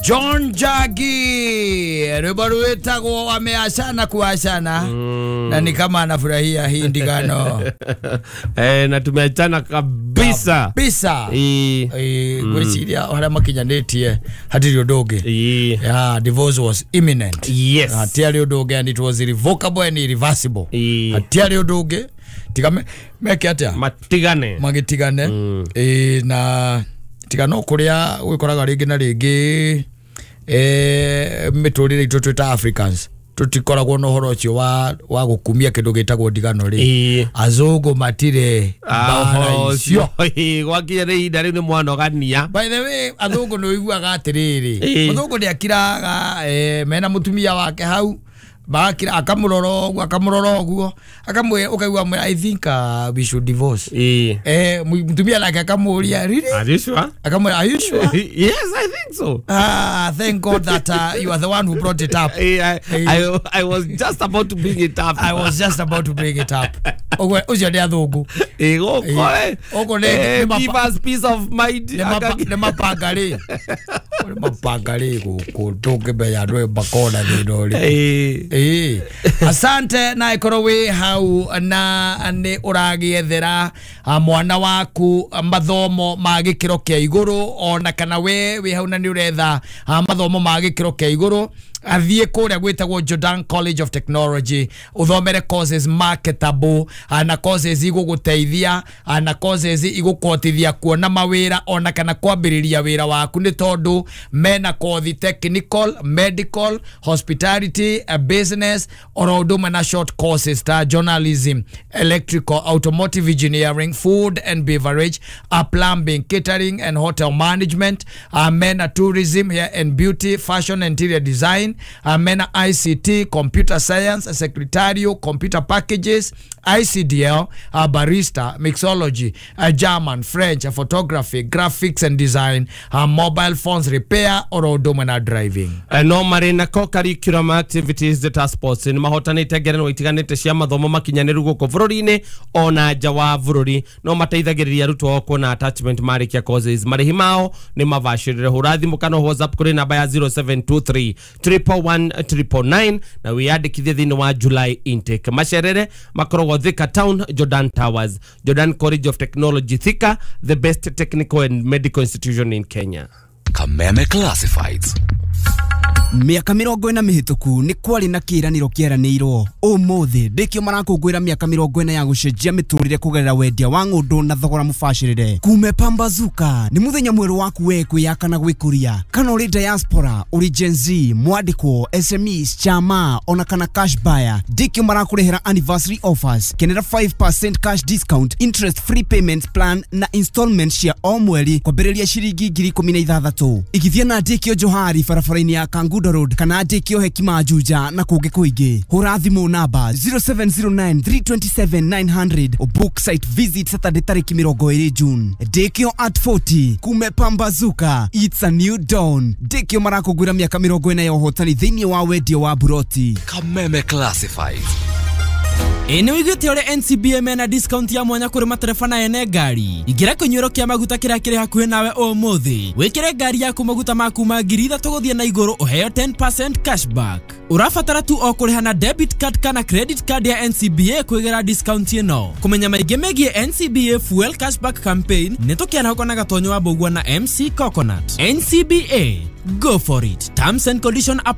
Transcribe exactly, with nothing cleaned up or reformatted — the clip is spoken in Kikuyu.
John Jagi, rwimbo rwitagwo wameachana kuachana, na ni kama anafurahia hii ndigano. Eh, na tumeachana kabisa. Kabisa. Ii. Eh, gwiciria haria makinyanitie hatiri undu ungi. Ii. Yeah, divorce was imminent. Yes. Hatiarĩ ũndũ ũngĩ, and it was irrevocable and irreversible. Ii. Hatiarĩ ũndũ ũngĩ tiga me- meke atĩa? Matigane. Magĩtigane. Ĩĩ, na tiga no kũrĩa gwĩkoraga rĩngĩ na rĩngĩ, eh, mĩtũrĩre itũ twĩ ta Africans tũtikoragwo na ũhoro ũcio wa wa gũkumia kĩndũ gĩtagwo ndigano rĩ. Ii. Azũngũ matirĩ mbara icio. Ũcio gwakinya nĩ ihinda rĩu nĩ mwanogania. By the way, athũngũ nĩ ũiguaga atĩrĩrĩ, Ĩĩ. mũthũngũ nĩ akiraga, eh, mena mũtumia wake hau, magakira, akamũrora ũguo, akamũrora ũguo, akamwĩra, ũkaigua amwĩra, "I think uh, we should divorce." Ii. eh mũtumia nake akamũria, "Really?" Are you sure? Akamwĩra, "Are you sure?" Yes, I think so. "Ah, thank God that uh, you are the one who brought it up." Eh, I, I, I was just about to bring it up. "I was just about to bring it up." Ũguo ũcio nĩ athũngũ. Eh, gũkũ, eh, Gũkũ nĩ- eh, nĩ mapa- give us peace of mind. Nĩ mapa- nĩ mapanga rĩ, nĩ mapanga rĩ, gũkũ ndũngĩmenya andũ aya makona thĩna ũrĩkũ. Eh, Ĩĩ, asante. Na ĩkorwo wĩ hau na nĩ ũragĩethera ah, mwana waku mathomo ma gĩkĩro kĩa igũrũ, ona kana we wĩ hau na nĩ ũretha ah, mathomo ma gĩkĩro kĩa igũrũ, athiĩ kũrĩa gwĩtagwo Jordan College of Technology, ũthomere courses marketable, ah, na courses igũgũteithia, ah, na courses igũkũhotithia kuona mawĩra ona kana kwambĩrĩria wĩra waku, nĩ tondũ mena kothi technical, medical, hospitality, uh, business, oro ũndũ ũmwe na short courses ta journalism, electrical, automotive engineering, food and beverage, uh, plumbing, catering and hotel management, uh, mena tourism, hair and beauty, fashion and interior design, uh, mena I C T, computer science, secretarial, computer packages, I C D L, uh, barista, mixology, uh, German, French, uh, photography, graphics and design, uh, mobile phones repair, oro ũndũ ũmwe na driving. Eh, no marĩ na co-curriculum activities ta sports, nĩ mahotanĩte ngerenwa itiganĩte cia mathomo makinyanĩru gũkũ bũrũri-inĩ ona nja wa bũrũri. No mateithagĩrĩria arutwo ao kuona attachment marĩkia courses. Marĩhi mao nĩ mabacĩrĩre. Hũra thimũ kana WhatsApp kũrĩ namba ya zero seven two three one one one nine nine na wĩyandĩkithie thĩinĩ wa July intake. Macerere makoragwo Thika Town, Jordan Towers. Jordan College of Technology Thika, the best technical and medical institution in Kenya. Kameme Classifieds. Mĩaka mĩrongo ĩna mĩhĩtũku nĩ kwarĩ na kĩĩranĩro kĩeranĩirwo. Ũmũthĩ ndĩkĩo marakũngũĩra mĩaka mĩrongo ĩna ya gũcenjia mĩtũrĩre kũgerera wendia wa ng'ũndũ na thogora mũbacĩrĩre. Kume pambazuka nĩ mũthenya mwerũ waku we kwĩyaka na gwĩkũria. Kana ũrĩ diaspora, ũrĩ Gen Z, mwandĩkwo, S M Es, chama ona kana cash buyer, ndĩkĩo marakũrehera anniversary offers. Kenera five percent cash discount, interest free payment plan na installment cia o mweri kwambĩrĩria ciringi ngiri ikũmi na ithathatũ. Igithia na ndĩkĩo Johari barabara-inĩ ya Kangundo Road kana ndĩkĩo Hekima Juja na kũngĩ kũingĩ. Hũra thimũ namba zero seven zero nine three two seven nine zero zero. Book site visit Saturday tarĩki mĩrongo ĩrĩ June. Ndĩkĩo at forty, kume pambazuka, it's a new dawn. Ndĩkĩo marakũngũĩra mĩaka mĩrongo ĩna ya ũhotani thĩinĩ wa wendia wa buroti. Kameme Classifieds. Ĩ nĩ wĩiguĩte ũrĩa N C B A mena discount ya mwanya kũrĩ matereba na ene ngari? Ingĩra kĩnyuĩro kĩa maguta kĩrĩa kĩrĩ hakuhĩ nawe ũmũthĩ, wĩkĩre ngari yaku maguta ma kuma ngiri ithatũ gũthiĩ na igũrũ, ũheo ten percent cashback. Ũrabatara tu o kũrĩha na debit card kana credit card ya N C B A kwĩgĩra discount ĩno. Kũmenya maingĩ megiĩ N C B A Fuel Cashback Campaign, nĩ tũkĩarahũka na Gatonyo wa Mbũgua na M C Coconut. N C B A, go for it. Terms and condition apply.